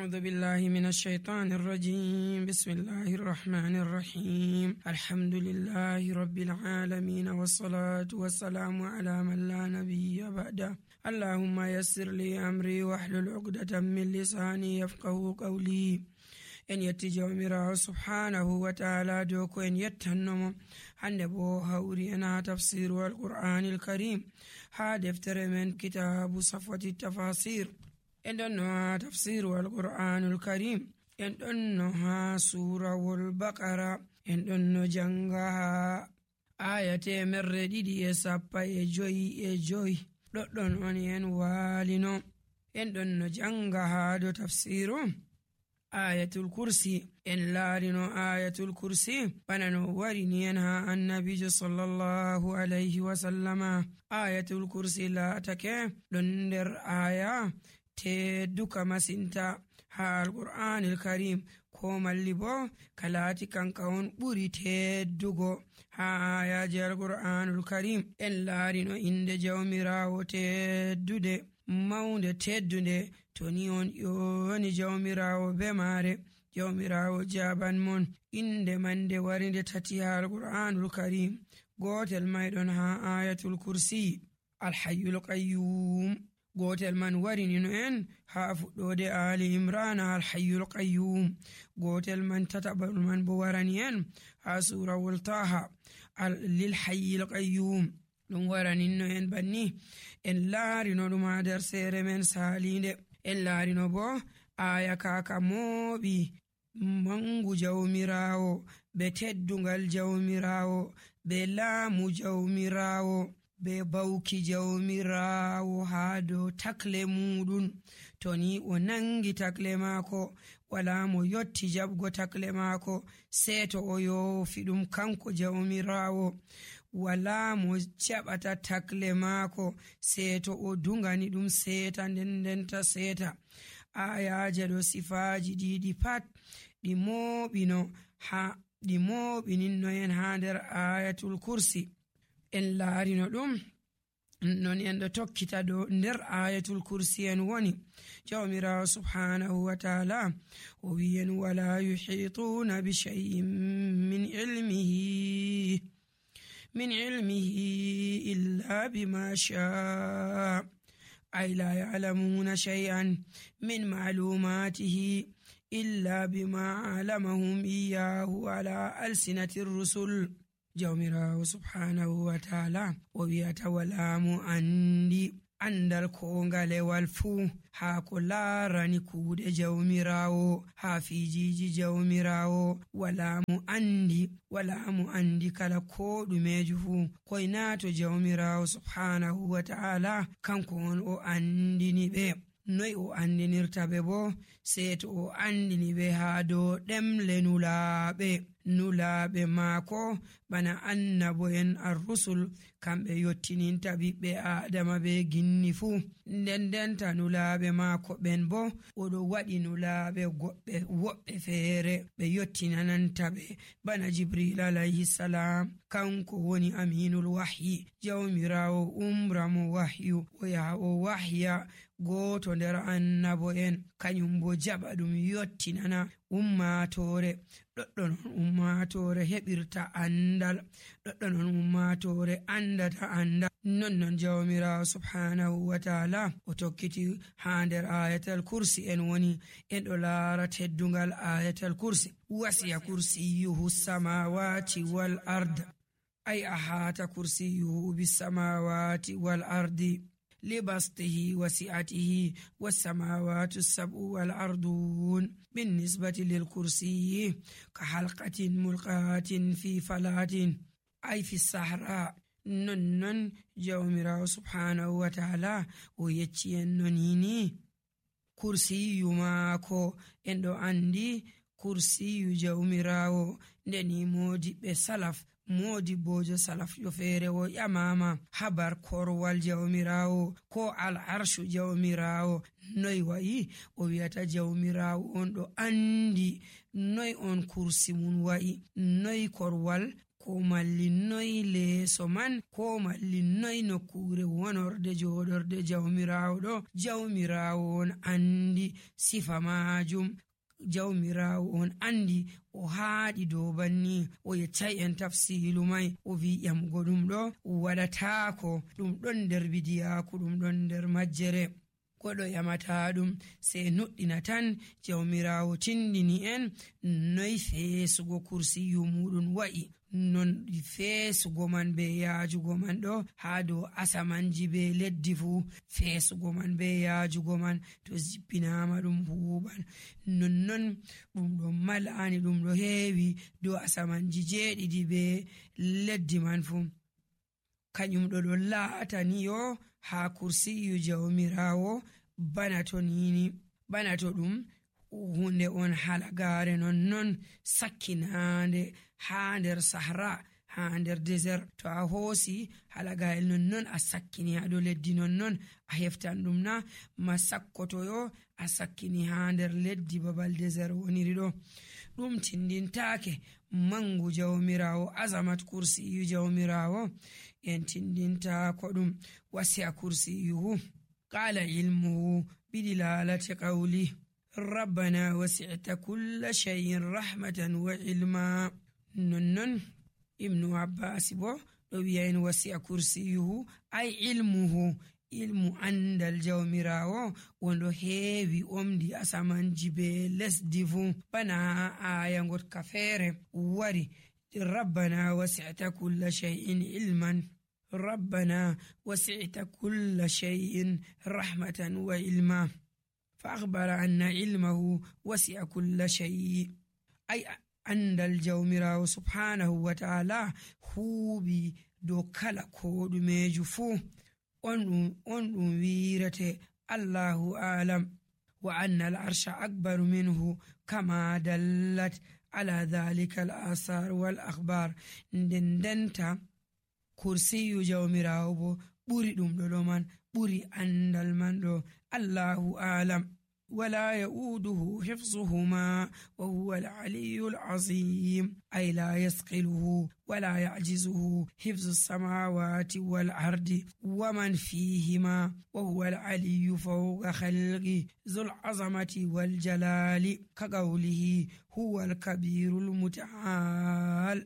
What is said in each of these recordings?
أعوذ بالله من الشيطان الرجيم. بسم الله الرحمن الرحيم. الحمد لله رب العالمين، والصلاة والسلام على من لا نبي بعده. اللهم يسر لي أمري واحلل عقدة من لساني يفقه قولي. en yetti jawmirawo subhanahu wa ta'ala dow ko en yettannomo hande bo hawri en ha tafsiru alqur'anil karim ha deftere men kitabu safwati tafasir. en ɗon no ha tafsiru alqur'anul karim, en ɗon no ha surawol baqara, en ɗon no janga ha aya 275 ɗoɗɗon on en walino. en ɗon no janga ha do tafsiru ayatul kursi. en laarino ayatul kursi bana no warini en ha annabijo sallallahu alayhi wa sallama. ayatul kursi laatake ɗon nder aya tedduka masinta ha alqur'anil karim, ko malli bo kalaati kanka on ɓuri teddugo ha ayaji alqur'anul karim. en laarino inde jawmirawo teddude maunde teddunde, to ni on ƴoni jawmirawo be maare, jawmirawo jaban mon. inde mande warinde tati ha alqur'anul karim. gotel may ɗon ha ayatul kursi, alhayyul qayyum. gotel man warini no en ha fuɗɗode ali imran, alhayyul qayyum. gotel man tataɓal man bo warani en ha surawol taha, lil hayyil qayyum. ɗum waraninno en banni. en laarino ɗum ha nder seere men salinde. en laarino bo aya kaka mooɓi mangu jawmirawo, be teddungal jawmirawo, be laamu jawmirawo, be bawki jawmirawo ha dow takle muɗum. to ni o nangi takle maako, wala mo yotti jaɓgo takle maako sei to o yoofi ɗum kanko jawmirawo. wala mo jaɓata takle maako sei to o dungani ɗum seeta ndendenta seeta. ayaje ɗo sifaji ɗiɗi pat ɗi mooɓininno en ha nder ayatul kursi. en laarino ɗum non en ɗo tokkita ɗo nder ayatul kursi en woni. jawmirawo subhanahu wa ta'ala o wi'en wala yuhituna bi shay'in min ilmihi illa bima sha'a, ay la ya'lamuna shay'an min ma'lumatihi illa bima 'alamahum iyyahu ala alsinati rusul. jawmirawo subhanahu wa ta'ala o wi'ata wala mo andi andal ko ngalewal fuu ha ko laarani kuuɗe jawmirawo, ha fijiji jawmirawo. wala mo andi kala ko ɗumeju fuu. koynato jawmirawo subhanahu wa ta'ala kanko on o andini ɓe. noy o andinirta ɓe bo? sei to o andini ɓe ha dow ɗemle nulaaɓe maako bana annabo en arrusul, kamɓe yottininta ɓiɓɓe adama ɓe ginni fuu. ndendenta nulaaɓe maako ɓen bo oɗo waɗi nulaaɓe woɓɓe feere ɓe yottinananta ɓe bana jibril alayhi salam, kanko woni aminul wahyi. jawmirawo umramo wahyu, o yaha o wahya goto nder annabo en, kañum bo jaɓa ɗum yottinana ummatore. ɗoɗɗon ummatore heɓirta andal, ɗoɗɗon ummatore andata andal. nonnon jawmirawo subhanahu wa ta'ala o tokkiti ha nder ayatal kursi en woni. en ɗo laara teddungal ayatal kursi. wasiya kursiyuhu samawati wal ard, ay ahata kursiyuhu bis samawati wal ardi لبسطه وسعته والسماوات السبع والأرضون بالنسبة للكرسي كحلقة ملقاة في فلاة، أي في الصحراء. ننن جawmirawo subhanahu wa ta'ala o yecci en nonini kursiyu maako. en ɗo andi kursiyu jawmirawo ndeni modiɓɓe salaf, modi bojo salaf yo feere o ƴamama habar korwal jawmirawo ko al arshu jawmirawo. noy wayi? o wi'ata jawmirawo on ɗo andi noy on kursi mun wayi, noy korwal ko malli noy leeso man ko malli noy nokkure wonorde joɗorde jawmirawo ɗo. Jawmirawo on andi sifa majum, jawmirawo on andi o haaɗi dow banni. O yeccai en tafsilu mai o wi ƴamgo ɗum ɗo waɗatako, ɗum ɗon nder bidiyaku, ɗum ɗon nder majjere. Koɗo ƴamata ɗum sei nuɗɗina tan jawmirawo tindini en noy feesugo kursiyu muɗum wa'i, non feesugo man be yaajugo man ɗo ha dow asamanji be leddi fu. Feesugo man be yaajugo man to jippinama ɗum huɓan, nonnon ɗum ɗo malani, ɗum ɗo heewi dow asamanji 7 be leddi man fu. Kañum ɗo ɗon laataniyo ha kursiyu jawmirawo bana to nini, bana to ɗum hunde on halagare nonnon sakkinande ha nder sahara, ha nder désert. To a hoosi halagayel nonnon a sakkini ha dow leddi, nonnon a heftan ɗum na ma sakkotoyo a sakkini ha nder leddi babal désert woniri ɗo. Ɗum tindintake mangu jawmirawo, azamat kursiyu jawmirawo en tindinta ko ɗum. wasi'a kursiyuhu qala ilmuhu bidilalati qawli rabbana wasi'ta kulla shay'in rahmatan wa ilma. nonnon ibnu abbas bo ɗo wi'a en wasi'a kursiyuhu ay ilmuhu, ilmu andal jawmirawo wonɗo heewi omdi asamanji be lesdi fu. bana aya gotka feere wari rabbana wasi'ta kulla shay'in ilman, rabbana wasi'ta kulla shay'in rahmatan wa ilma, fa akhbara anna ilmahu wasi'a kulla shay'. ay andal jawmirawo subhanahu wa ta'ala huuɓi dow kala ko ɗumeju fu. on ɗum wirete allahu alam, wa anna al arsha akbaru minhu kama dallat ala dhalika al asar wal akhbar. ndendenta kursiyu jawmirawo bo ɓuri ɗum ɗo man, ɓuri andal man ɗo. allahu alam wala ya'uduhu hifzuhuma wa huwa al-aliyyu al-azim, ay la yasqiluhu wala ya'jizuhu hifzu as-samawati wal ardi wa man fihima wa huwa al-aliyyu fawqa khalqi dhul azamati wal jalali ka qawlihi huwa al-kabiru al-muta'al.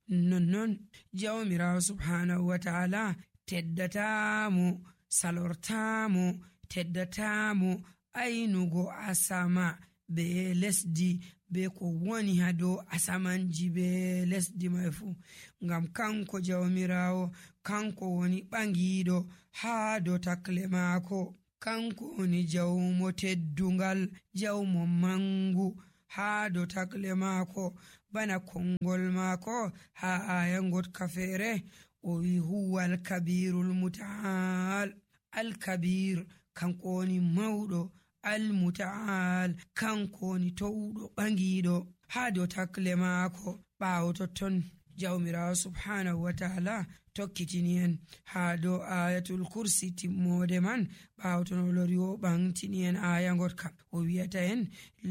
nonnon jawmirawo subhanahu wa ta'ala teddatamo, salortamo, teddatamo aynugo asama be lesdi be ko woni ha dow asamanji be lesdi mai fu, ngam kanko jawmirawo kanko woni ɓangiɗo ha dow takle maako, kanko woni jawmo teddungal, jawmo mangu ha dow takle maako. bana kongol maako ha aya gotka feere o wi huwa al-kabirul muta'al. al-kabir kanko woni mawɗo, al-muta'al kanko woni towɗo ɓangiɗo ha dow takle maako. ɓaawo totton jawmirawo subhanahu wa ta'ala tokkitini en ha dow ayatul kursi timmode man. ɓaawo ton o lori o ɓamtini en aya gotka o wiyata en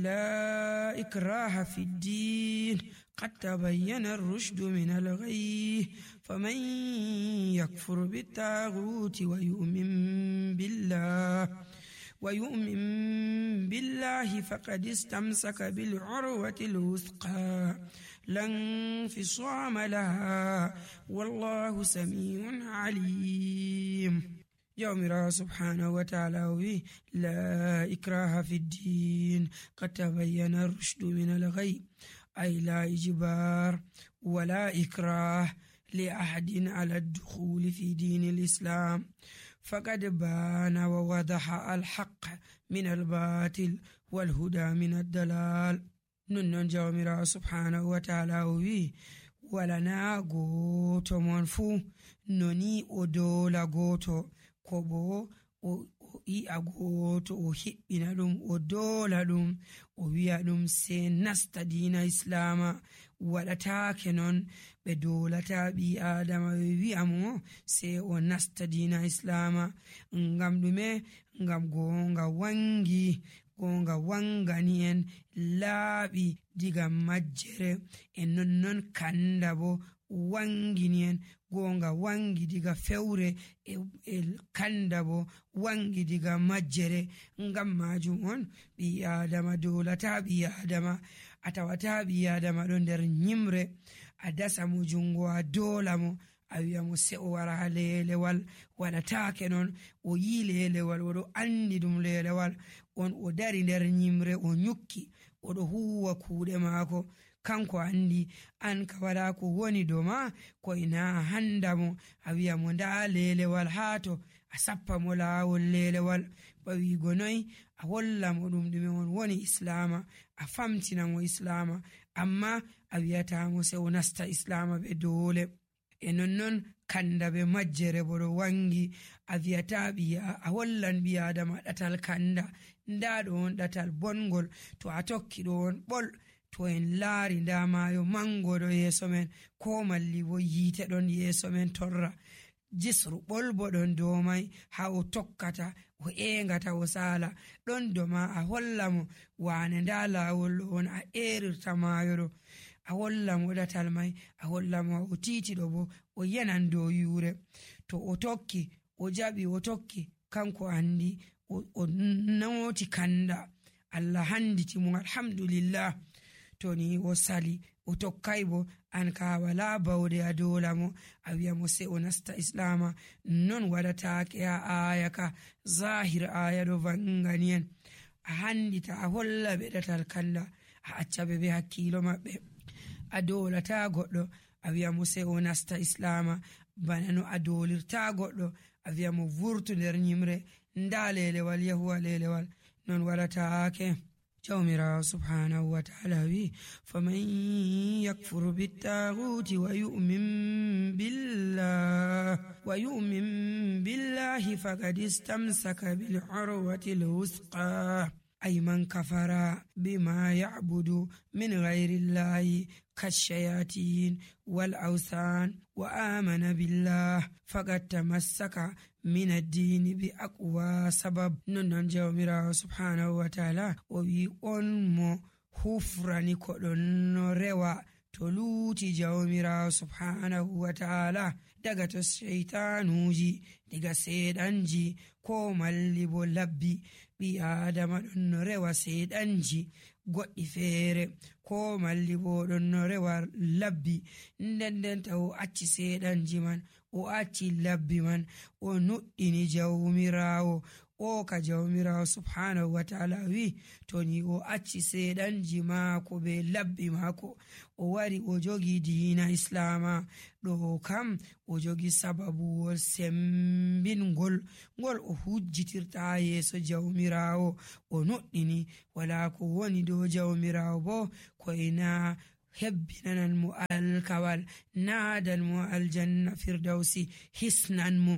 la ikraha fi ddin qad tabayyana ar-rushdu min al-ghayy faman yakfur bit-taghuti wa yu'min billahi faqad istamsaka bil-'urwati al-wuthqa lan fisama laha wallahu sami'un alim. jawmirawo subhanahu wa ta'ala wi la ikraha fi ddin qad tabayyana ar-rushdu min al-ghayy, ay la ijbar wala ikrah li ahadin ala ad-dukhul fi din al-islam faqad bana wa wadaha al-haqq min al-batil wal huda min ad-dalal. nonnon jawmirawo subhanahu wa ta'ala wi wala na goto mon fu noni o dola goto, ko bo o yi'a goto o hiɓɓina ɗum o dola ɗum o wi'a ɗum se nasta dina islama. waɗatake non ɓe dolata ɓi adama ɓe wi'a mo se o nasta dina islama. ngam ɗume? ngam gonga wangani en laaɓi diga majjere, e nonnon kanda bo wangini en, gonga wangi diga fewre e kanda bo wangi diga majjere. Ngam majum on ɓi adama dolata ɓi adama, a tawata ɓi adama ɗo nder nyimre a dasa mo jungo a dola mo a wi'a mo se'o wara ha lelewal, waɗatake non. O yi lelewal, oɗo andi ɗum lelewal on, o dari nder nyimre o nyukki oɗo huwa kuuɗe maako, kanko andi an ka wala ko woni do ma ko ina handa mo a wi'a mo nda lelewal hato, a sappa mo lawol lelewal. Bawigo noy a holla mo ɗum ɗume on woni islama, a famtina mo islama, amma a wi'ata mo se o nasta islama be dole. E nonnon kanda be majjere bo ɗo wangi, a wi'ata a hollan ɓi adama ɗatal kanda, nda ɗo on ɗatal bongol, to a tokki ɗo on ɓol. To en laari nda mayo mango ɗo yeso men, ko malli bo yite ɗon yeso men torra, jisru ɓol bo ɗon dow mai ha o tokkata o engata o sala. ɗon do ma a holla mo wane nda lawol ɗo on a erirta mayo ɗo, a holla mo ɗatal mai, a holla mo o titi ɗo bo o yanan dow yure. To o tokki o jaɓi o tokki, kanko andi o noti kanda, Allah handiti mo alhamdulillah. To ni o sali o tokkay bo an ka wala bawde a dola mo a wi'a mo se o nasta islama. Non waɗatake ha aya ka, zahir aya ɗo vangani en, a handita a holla ɓe ɗatal kanda, a acca ɓe be hakkilo maɓɓe. A dolata goɗɗo a wi'a mo se o nasta islama, bana no a dolirta goɗɗo a wi'a mo vurtu nder nyimre, nda lelewal yahuwa lelewal. Non waɗatake. jawmirawo subhanahu wa ta'ala wi faman yakfuru bittaguti wa yu'min billahi faqad istamsaka bil urwati al wusqa ay man kafara bima ya'budu min ghayri llahi kashayatin wal awsan wa amana billah faqad tamassaka min ad-dini bi aqwa sabab. Non jawmirawo subhanahu wa ta'ala o wi on mo hufrani ko ɗon no rewa to luuti jawmirawo subhanahu wa ta'ala daga to shaytanuji, daga seeɗanji ko malli bo labbi. ɓi adama ɗon no rewa seeɗanji goɗɗi feere ko malli bo ɗon no rewa labbi, nden taw o acci seeɗanji man, o acci labbi man, o nuɗɗini jawmirawo o ka jawmirawo subhanahu wa ta'ala wi to ni o acci seeɗanji maako be labbi maako, o wari o jogi diina islama ɗo kam o jogi sababuwol sembingol ngol o hujjitirta yeso jawmirawo, o nuɗɗini wala ko woni dow jawmirawo bo ko ina hebbinanan mo alkawal, nadan mo aljanna firdausi, hisnan mo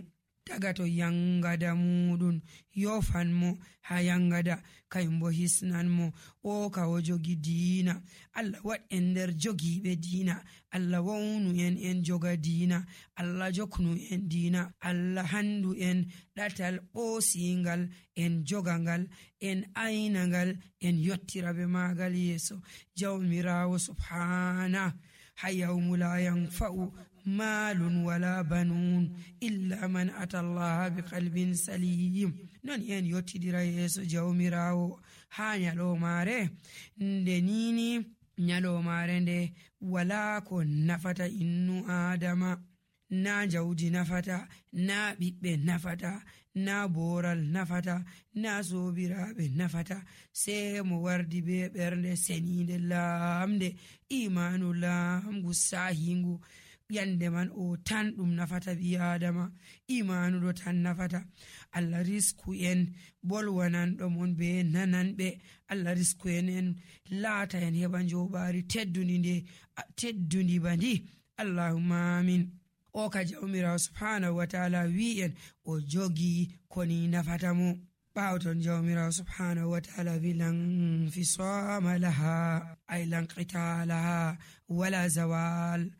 daga to yangada muɗum, yofan mo ha yangada, kayum bo hisnan mo o ka o jogi diina. Allah waɗ en nder jogiɓe diina, Allah wawnu en joga diina, Allah joknu en diina, Allah handu en ɗatal ɓosingal, en jogangal, en aynangal, en yottirabe magal yeso jawmirawo subhana. ha yawmu la yanfa'u malun wala banun illa man ata Allah bi qalbin salim. Non en yottidira yeso jawmirawo ha nyalomare nde nini, nyalomare nde wala ko nafata innu adama, na jawdi nafata, na ɓiɓɓe nafata, na boral nafata, na sobiraɓe nafata, sai mo wardi be ɓernde senide lamde, imanu lamgu sahingu. Yande man o tan ɗum nafata ɓi adama, imanu ɗo tan nafata. Allah risku en bolwanan ɗo mon be nananɓe, Allah risku en laata en heɓa joɓari teddudi bandi. Allahumma amin. O ka jawmirawo subhanahu wa ta'ala wi en o jogi koni nafata mo. ɓawton jawmirawo subhanahu wa ta'ala wi lan fisama laha ay lan qitalaha wala zawal.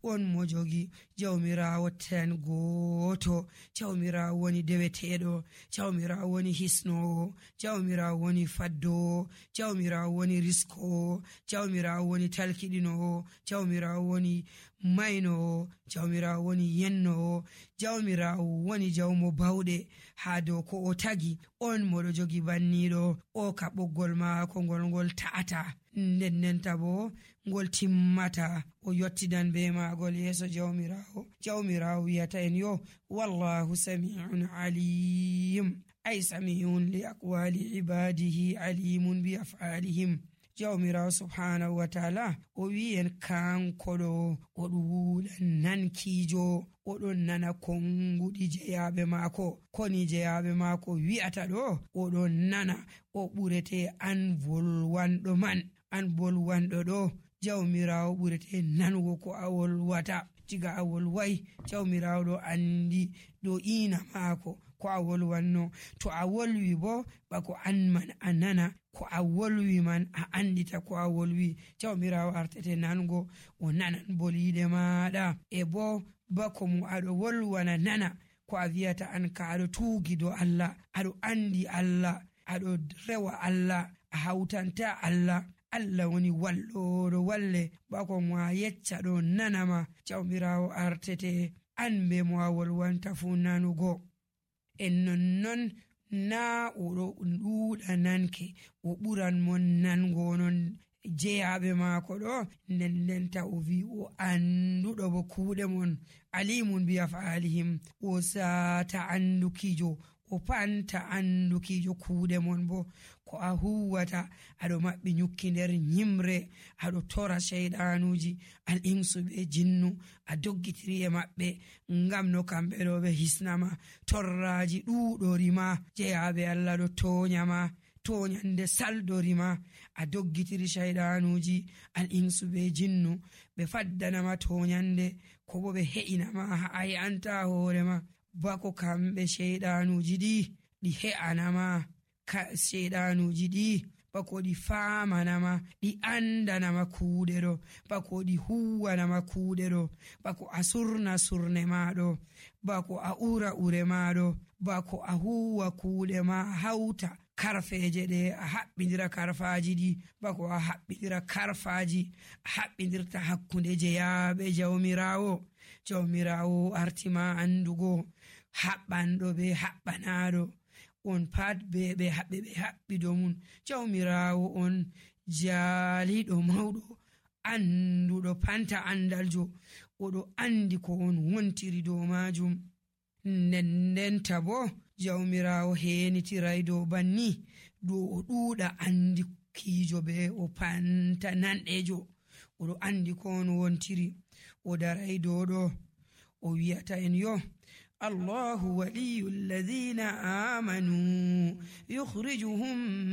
on mo jogi jawmirawo tan goto, jawmirawo woni deweteɗo, jawmirawo woni hisnowo, jawmirawo woni faddowo, jawmirawo woni riskowo, jawmirawo woni talkiɗinowo, jawmirawo woni maynowo, jawmirawo woni yennowo, jawmirawo woni jawmo bawɗe ha dow ko o tagi. On moɗo jogi banniɗo, o ka ɓoggol maako ngol ta'ata, ndennenta bo ngol timmata. O yottidan be maagol yeeso jawmirawo wiyata en yo wallahu sami'un alim, ay sami'un li aqwali ibadihi alimun bi af'alihim. jawmirawo subhanahu wa ta'ala o wi en kanko ɗo o ɗuuɗa nankijo, oɗon nana konguɗi jeyaɓe maako, koni jeyaɓe maako wi'ata ɗo oɗon nana. o ɓurete an volwanɗo man, an bolwanɗo ɗo jawmirawo ɓurete nanugo ko a wolwata. diga a wolwai jawmirawo ɗo andi ɗo ina maako ko a wolwanno. to a wolwi bo bako an man a nana ko a wolwi man, a andita ko a wolwi. jawmirawo artete nango, o nanan boliɗe maɗa, e bo bako mo aɗo wolwana nana ko a wiyata an ka aɗo tuugi do Allah, aɗo andi Allah, aɗo rewa Allah, a hautanta Allah. Allah woni walloɗo walle, bako mo a yecca ɗo nanama. jawmirawo artete an be mo a wolwanta fu nanugo. en nonnon na oɗo ɗuuɗa nanke, o ɓuran mon nango non jeyaɓe maako ɗo, ndendenta o wi o anduɗo bo kuuɗe mon, alimun bi af'alihim, o sata andukijo, o panta andukijo kuuɗe mon bo. ko a huwata aɗo maɓɓi nyukki nder nyimre, aɗo tora shaydanuji al insu be jinnu, a doggitiri e maɓɓe ngam no kamɓe ɗo ɓe hisnama. torraji ɗuɗorima, jeyaɓe Allah ɗo toñama, toñande saldorima, a doggitiri shaydanuji al insu be jinnu, ɓe faddanama toñande, ko bo ɓe he'inama ha a he'anta hoorema. bako kamɓe shaydanuji ɗi he'anama, shaydanuji ɗi bako ɗi famanama, ɗi andanama kuuɗe ɗo, bako ɗi huwanama kuuɗe ɗo, bako a surna surne maɗo, bako a ura ure maɗo, bako a huwa kuuɗe ma hauta karfeje ɗe, a haɓɓidira karfaji ɗi, bako a haɓɓidira karfaji a haɓɓidirta hakkunde jeyaɓe jawmirawo artima andugo haɓɓanɗo be haɓɓanaɗo, on pat ɓe haɓɓido mun. jawmirawo on jaaliɗo mawɗo, anduɗo panta andaljo, oɗo andi ko on wontiri dow majum. ndendenta bo jawmirawo henitiray dow banni, dow o ɗuuɗa andikijo be o panta nanɗejo, oɗo andi ko on wontiri. o daray dow ɗo o wiyata en yo الله ولي الذين آمنوا يخرجهم